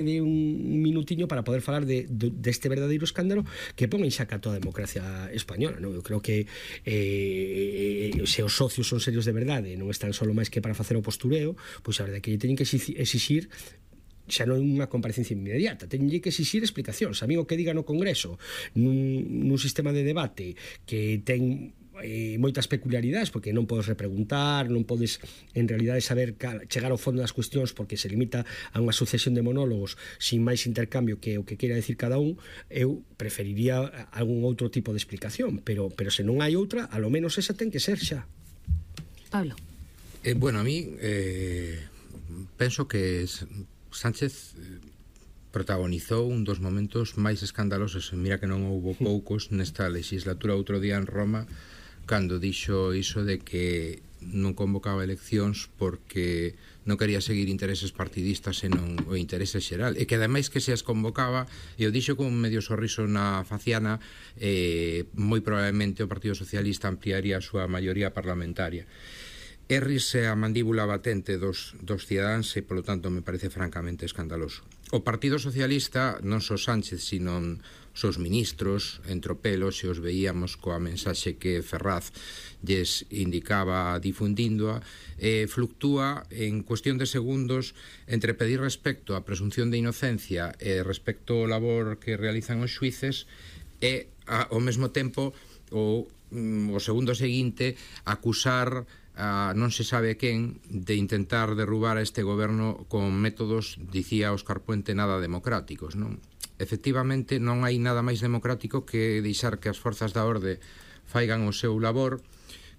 de un minutiño para poder falar deste verdadeiro escándalo que pon en xaca toda a democracia española, non? Eu creo que se os socios son serios de verdade, non están solo máis que para facer o postureo, pois a verdade é que lle teñen que exixir xa non unha comparecencia inmediata, teñen que exixir explicacións. A mí o que diga no Congreso nun sistema de debate que ten moitas peculiaridades, porque non podes repreguntar, non podes en realidade saber chegar ao fondo das cuestións, porque se limita a unha sucesión de monólogos sin máis intercambio que o que queira decir cada un. Eu preferiría algún outro tipo de explicación, pero se non hai outra, a lo menos esa ten que ser xa. Pablo. Bueno, a mí penso que Sánchez protagonizou un dos momentos máis escandalosos, mira que non houbo poucos nesta legislatura. Outro día en Roma, cando dixo iso de que non convocaba eleccións porque non quería seguir intereses partidistas e non o interese xeral, e que ademais que se as convocaba, e o dixo con un medio sorriso na faciana, moi probablemente o Partido Socialista ampliaría a súa maioría parlamentaria. Errise a mandíbula batente dos cidadáns e, polo tanto, me parece francamente escandaloso. O Partido Socialista, non só Sánchez, sino os ministros, entropelos, e os veíamos coa mensaxe que Ferraz lles indicaba difundíndoa, fluctúa en cuestión de segundos entre pedir respecto á presunción de inocencia e respecto ao labor que realizan os xuíces e, ao mesmo tempo, o segundo seguinte, acusar a non se sabe quen de intentar derrubar a este goberno con métodos, dicía Óscar Puente, nada democráticos, non? Efectivamente, non hai nada máis democrático que deixar que as forzas da orde faigan o seu labor,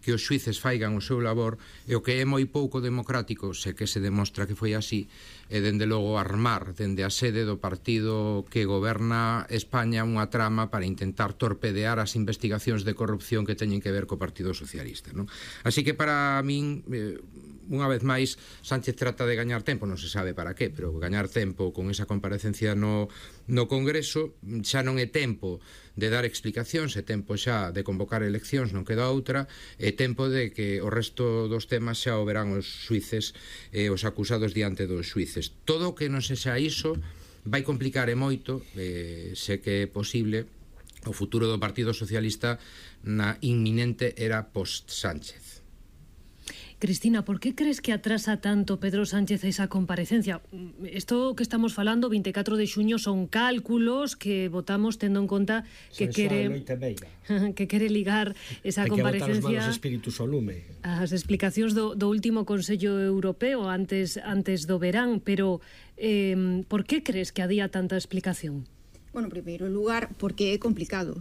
que os xuíces faigan o seu labor, e o que é moi pouco democrático, se que se demostra que foi así, é dende logo armar dende a sede do partido que goberna España unha trama para intentar torpedear as investigacións de corrupción que teñen que ver co Partido Socialista, non? Así que para min, unha vez máis, Sánchez trata de gañar tempo, non se sabe para qué, pero gañar tempo con esa comparecencia no Congreso. Xa non é tempo de dar explicacións, é tempo xa de convocar eleccións, non queda outra, é tempo de que o resto dos temas xa o verán os xuíces e os acusados diante dos xuíces. Todo o que non sexa iso vai complicar e moito, se que é posible, o futuro do Partido Socialista na inminente era post-Sánchez. Cristina, ¿por qué crees que atrasa tanto Pedro Sánchez esa comparecencia? Esto que estamos falando, 24 de xuño, son cálculos que votamos tendo en conta que quere ligar esa comparecencia as explicacións do último Consello Europeo antes do verán, pero ¿por qué crees que adía tanta explicación? Bueno, en primeiro lugar, porque é complicado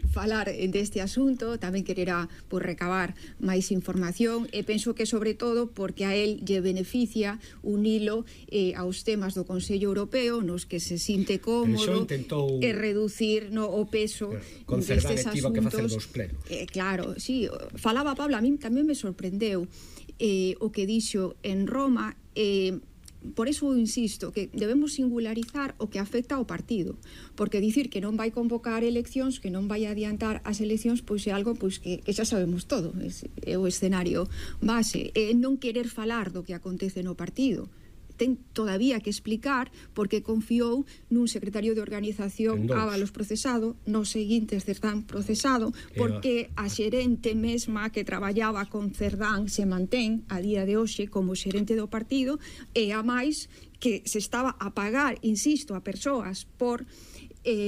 falar deste asunto, tamén quererá recabar máis información, e penso que sobre todo porque a él lle beneficia unilo aos temas do Consello Europeo nos que se sinte cómodo e reducir o peso destes asuntos. Claro, sí, falaba Pablo, a mí tamén me sorprendeu o que dixo en Roma. Por eso insisto que debemos singularizar o que afecta ao partido, porque dicir que non vai convocar eleccións, que non vai adiantar as eleccións, pois é algo que xa sabemos todo, é o escenario base, é non querer falar do que acontece no partido. Ten todavía que explicar porque confiou nun secretario de organización Ábalos procesado, nos seguintes Cerdán procesado, porque a xerente mesma que traballaba con Cerdán se mantén a día de hoxe como xerente do partido, e a máis que se estaba a pagar, insisto, a persoas por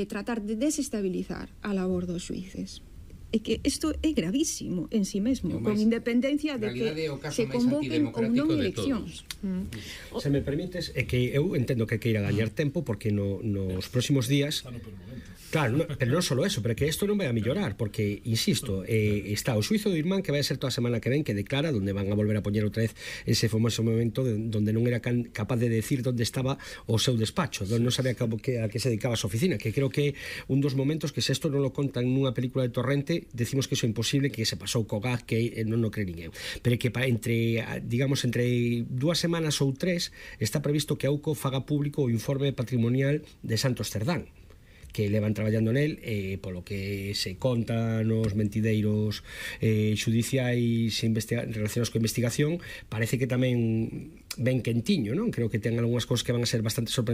tratar de desestabilizar a labor dos xuíces. É que isto é gravísimo en sí mesmo, con independencia de que se convoquen ou non eleccións. Se me permites, é que eu entendo que queira gañar tempo, porque nos próximos días... Claro, pero non só eso, pero que isto non vai a mellorar, porque, insisto, está o xuizo do Irmán que vai a ser toda a semana que ven, que declara, donde van a volver a poñer outra vez ese famoso momento donde non era capaz de decir onde estaba o seu despacho, donde non sabía a que se dedicaba a súa oficina, que creo que un dos momentos que se isto non lo contan nunha película de Torrente, decimos que iso é imposible, que se pasou co gag, que non o cree ninguén, pero que entre 2 semanas ou 3 está previsto que a UCO faga público o informe patrimonial de Santos Cerdán, que levan traballando nel, polo que se conta nos mentideiros xudiciais relacionados coa investigación, parece que tamén ben quentiño, non? Creo que ten algunhas cousas que van a ser bastante sorprendentes